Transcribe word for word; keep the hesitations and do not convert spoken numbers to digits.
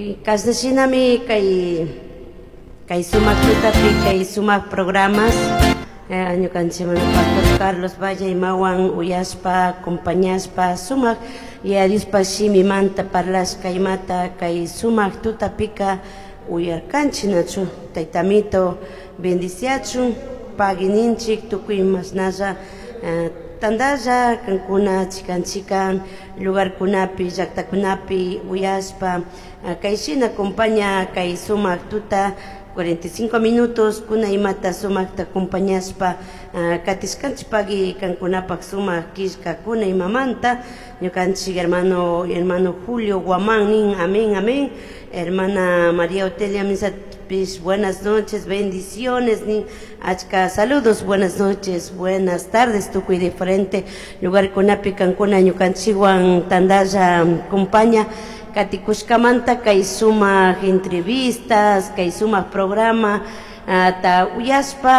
Kashna shinami kay kay sumak tutapi kay sumak programas eh, ñukanchik Pastor Carlos Valle imawan uyashpa acompañashpa sumak Yaya Diospa shimimanta parlashka imata kay sumak tutapika uyarkanchik, nachu? Taytamito bendiciachun, pagui ninchik tukuy mashnalla eh, tandalla kankuna chikan chikan lugarkunapi, llaktakunapi uyashpa eh, kay shina acompaña kay sumak tuta cuarenta y cinco minutos kuna imata sumakta acompañashpa uh, katishkanchik. Pagui kankunapak sumak killkakuna imamanta. Ñukanchik hermano hermano Julio Guamán nin: "Amén, amén". Hermana María Otelia Misatpish "Buenas noches, bendiciones" nin. Achka saludos, buenas noches, buenas tardes, tukuy diferente lugarkunapi kankuna ñukanchikwan tandalla compaña katikushkamanta kay sumak entrevistas, kay sumak programa ta uyashpa.